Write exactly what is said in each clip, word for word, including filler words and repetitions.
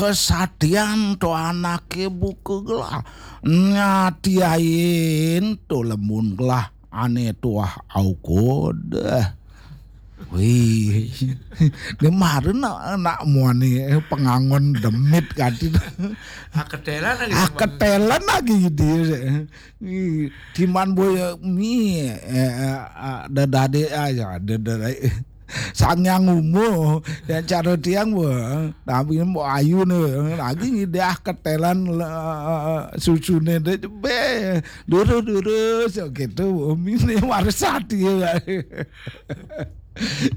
kesatian to anake buka gelah. Nyatiain to lemun gelah ane tuah aukod. Wih, dia mara nak, nak muani, eh, pengangon demit kati. Aketelan lagi. Aketelan lagi dia. Ih, timan boy, eh, mi, eh, eh, ah, dadade aja, dadade. Sangyang umur, yang cara tiang, wah, tapi mau ayu nih, lagi dia ketelan, eh, susune deh, be, duru, duru, so gitu, mine warsati ya.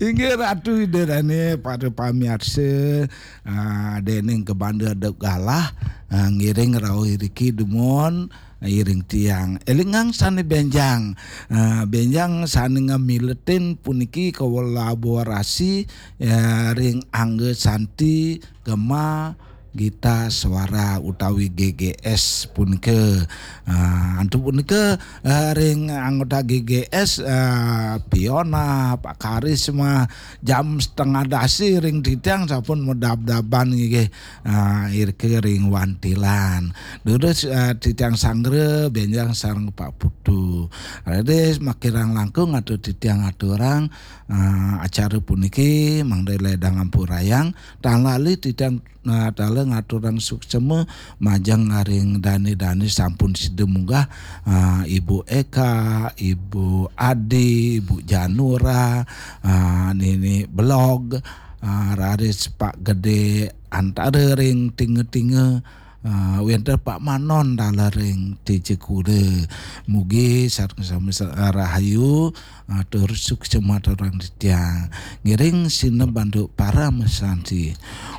Inggih Ratu Ida Dane, para pamiarsa, ah, dening kebanda dep galah, ah, ngiring rauh iriki dumun, iring tiang. Elingang sane benjang, ah, benjang sane ngamiletin puniki kolaborasi, ya, ring Angga Santi Gema Gita Suara utawi G G S punika. Ah, antuk punika, ah, ring anggota G G S, ah, Piona, Pak Karisma, jam setengah dasi ring titiang sampun medab-daban nggih. Ah, irika ring wantilan. Durus, ah, titiang sanggra benjang sareng Pak Putu. Raris makirang langkung atur titiang aturang, ah, acara puniki mangda ledang ampurayang. Tan lali titiang, ah, tala ngaturang suksema majeng ring dane-dane sampun sida munggah, ah, Ibu Eka, Ibu Adi, Ibu Janura, ah, Nini Belog, ah, raris Pak Gede antara ring tinga-tinga, ah, wenten Pak Manon dalar ring Tejekura. Mugi sareng sami sa-, rahayu, ah, tur suksema aturang titiang. Ngiring sineb antuk parama santi.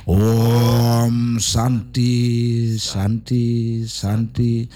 Om Santi, Santi, Santi.